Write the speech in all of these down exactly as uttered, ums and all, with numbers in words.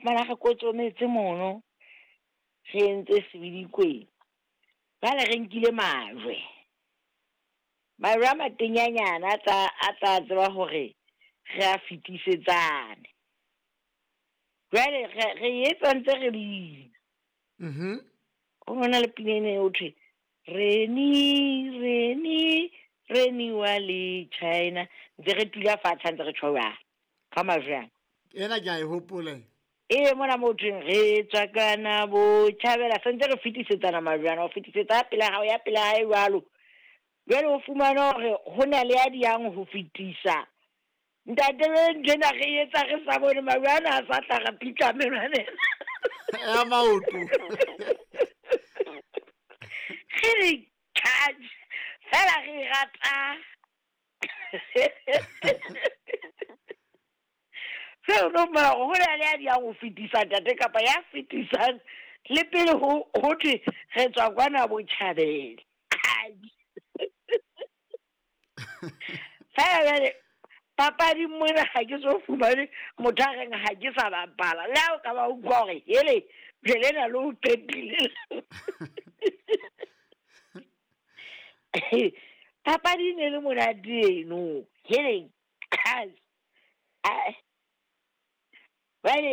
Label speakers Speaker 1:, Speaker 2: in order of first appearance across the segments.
Speaker 1: fumana re kotsometse mono, re entse sebedikweng. Jwale re nkile majwe. Majwe a matenyanyana a tla a tla tseba hore re a fetisetsane. Jwale re re etsa ntse re bina.
Speaker 2: Mhm.
Speaker 1: Ho na le pina ena ho thwe Reni Reni Reni wa le China. Ntse re tula fatshe ntse re tjho jwalo ka majwe ana.
Speaker 2: Ena ke a e hopola.
Speaker 1: Ee, mona mo thweng re tswa kana botjhabela, se ntse re fetisetsana majwe ana, o fetisetsa pele hao ya pele hae jwalo. Jwale o fumana hore ho na le ya diyang ho fetisa. Ntate ntho ena re etsa re sa bone majwe ana a sa tla re pitla menwaneng.
Speaker 2: Ya maoto.
Speaker 1: Re re charge fela re rata. Seo no mara ho na le ya diyang ho fetisa ntate kapa ya fetisang le pele ho ho thwe re tswa kwana botjhabela. Fela jwale papading mona ha ke so fumane motho a reng ha ke sa bapala. Le ha o ka ba utlwa hore hele jwale lena le o qetile. Papadi ne le monate eno. Hele jwale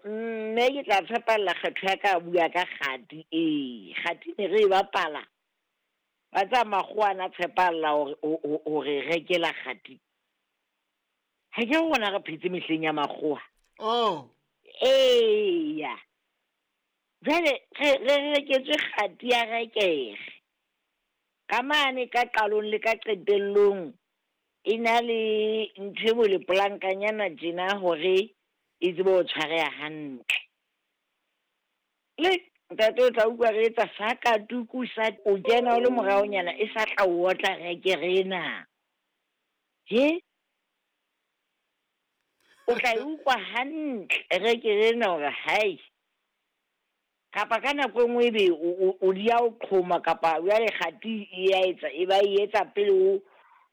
Speaker 1: mme ke tla tshepalla kgetho ya ka bua ka kgati. Ee, kgati ne re e bapala. Ba tsa makgowa ana tshepalla hore hore rekela kgati. Ha ke rona re phetse mehleng ya makgowa.
Speaker 2: Oh.
Speaker 1: Eya. Jwale re re reketswe kgati ya rekere. Ka mane ka qalong le ka qetellong e na le ntho e bo le polankanyana tjena hore e tsebe ho tshwareha hantle. Le ntate o tla utlwa re etsa sa katuku sa o kena o le moraonyana e sa tla o otla rekere ena. He? O tla e utlwa hantle rekere ena hore hai. Kapa ka nako e nngwe ebe o di ya o qhoma kapa jwale kgati e ya etsa e ba e etsa pele o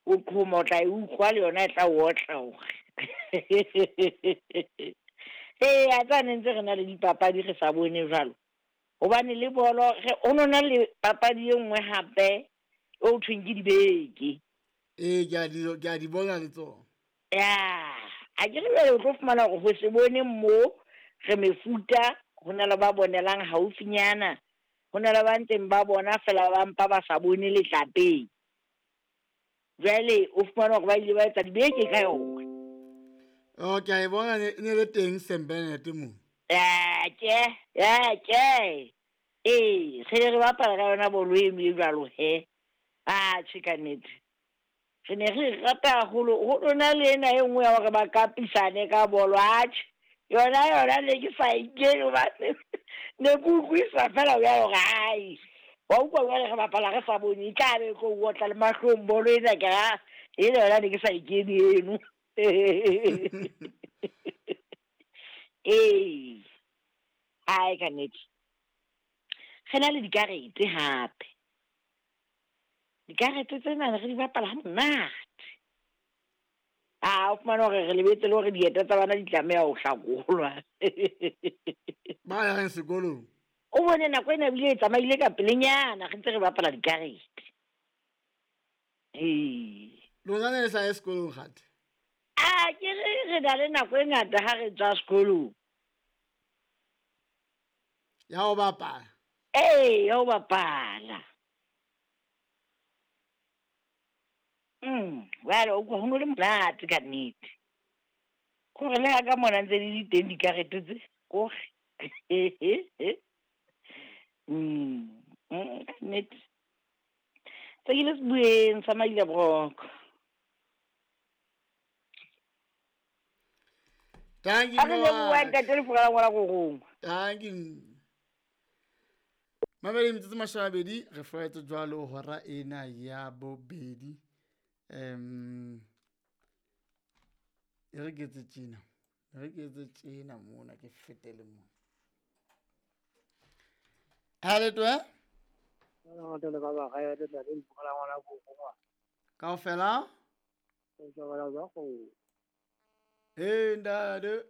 Speaker 1: o qhoma, o tla e utlwa le yona e tla o otla hore. Ee, a tsa ne ntse re na le dipapadi re sa bone jwalo. Hobane le bolo re ho nona le papadi e nngwe hape o thweng ke dibeke.
Speaker 2: Ee, ke a di ke a di bona le tsona.
Speaker 1: Ya, a ke re jwale o tlo fumana hore ho se bone mo re mefuta, ho na le ba bonelang haufinyana, ho na le ba ntseng ba bona fela ba mpa ba sa bone letlapeng. Jwale o fumana hore ba ile ba etsa dibeke ka yona.
Speaker 2: Oh, ke a e bona ne ne le teng Saint Bernard mo.
Speaker 1: Ya, ke, ya, ke. Ee, re re bapala ka yona bolo eno e jwalo he. Ah, tjhe ka nnete. Re ne re rata haholo, ho lona le ena e nngwe ya hore ba kapisane ka bolo, atjhe. Yona yona ne ke sa e kene hobane ne ke utlwisisa fela jwalo hore hai. Wa utlwa jwale re bapala re sa bone, e tla be e tlo o otla le mahlong bolo ena ke ra, ele yona ne ke sa e kene eno. Ee, ai ka nnete. Re na le dikarete hape. Dikarete tsena re di bapala ha monate. Ah, o fumana hore re lebetse le hore dieta tsa bana di tlameha ho hlakolwa.
Speaker 2: Ba yang sekolong.
Speaker 1: O bone nako ena ebile e tsamaile ka pelenyana re ntse re bapala dikarete. Ee.
Speaker 2: Lona ne le sa ye sekolong kgate?
Speaker 1: Ah, ke re re na le nako e ngata ha re tswa sekolong.
Speaker 2: Ya ho bapala.
Speaker 1: Ee, ya ho bapala. Mm, jwale o utlwa ho no le monate ka nnete. Kore le ha ka mona ntse di le teng dikarete tse, kore. Mm, mm, ka nnete. Tse ke le sebueng sa Maila Broko.
Speaker 2: Thank you.
Speaker 1: A re leboha ntate Lefura la ngwana Korong.
Speaker 2: Thank you. Mamedi metsotso mashome a mabedi re furetse jwalo hora ena ya bobedi. Um e re ke etse tjena. E re ke etse tjena mona ke fetele mona. Ha le twe? Kaofela? Hey, ntate.